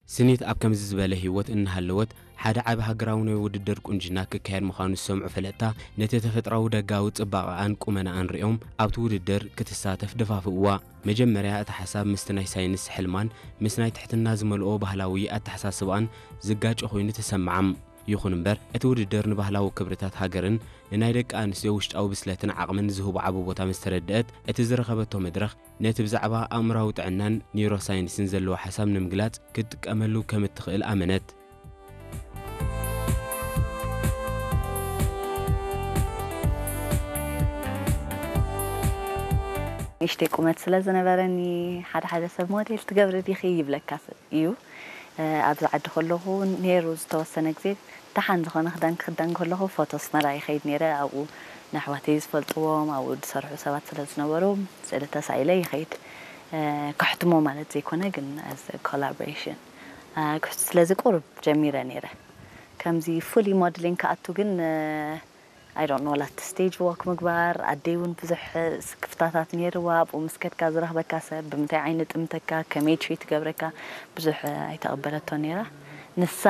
ስኒት ኣብ ከምዚ ዝበለ ህይወት እናሃለወት፣ ሓደ ዓቢ ሃገራዊ ናይ ውድድር ቁንጅና ክካየድ ምዃኑ ዝሰምዑ ፈለጥታ፣ ነቲ ተፈጥሮኣዊ ደጋዊ ጽባቐኣን ቁመናኣን ርእዮም፣ ኣብቲ ውድድር ክትሳተፍ ደፋፍእዋ። መጀመርያ እቲ ሓሳብ ምስቲ ናይ ሳይንስ ሕልማን ምስ ናይ ትሕትና ዝመልኦ ባህላዊ ኣተሓሳስባኣን ዝጋጮ ኮይኑ ተሰምዓም። ይኹን እምበር፣ እቲ ውድድር ንባህላዊ ክብርታት ሃገርን ንናይ ደቂ ኣንስትዮ ውሽጣዊ ብስለትን ዓቕምን ዝህቦ ዓቢ ቦታ ምስ ተረድአት፣ እቲ ዝረኸበቶ መድረኽ ነቲ ብዛዕባ ኣእምሮኣዊ ጥዕናን ኒውሮሳይንስን ዘለዎ ሓሳብ ንምግላጽ ክትጥቀመሉ ከም እትኽእል ኣመነት። ንእሽተይ ቁመት ስለ ዝነበረኒ፣ ሓደ ሓደ ሰብ "ሞዴል ትገብሪ ዲኺ?" ይብለካ ስ-፣ እዩ። እ፣ ኣብዚ ዓዲ ከለኹ ነይሩ ዝተወሰነ ግዜ፣ ደሓን ዝኾነ ክዳን ክኽደን ከለኹ ፎቶ ኣስመራ ይኸይድ ነይረ። ኣብኡ ንኣሕዋተይ ዝፈልጥዎም፣ ኣብኡ ዝሰርሑ ሰባት ስለ ዝነበሩ፣ ስእሊ ተሳኢለ ይኸይድ። እ፣ ከሕትሞ ማለት ዘይኮነ፣ ግን as a collaboration፣ እ፣ ክሕቱ ስለዚ ቁሩብ ጀሚረ ነይረ። ከምዚ fully ሞድሊንግ ክኣቱ ግን፣ እ፣ I don't know፣ ላት ስቴጅ ዎክ ምግባር፣ ኣደይ እውን ብዙሕ ስክፍታታት ነይርዋ። ኣብኡ ምስ ከድካ ዝረኽበካ ሰብ፣ ብምንታይ ዓይኒ ጥምተካ፣ ከመይ ትሪት ትገብረካ፣ ብዙሕ ኣይተቐበለቶ ነይራ። ንሳ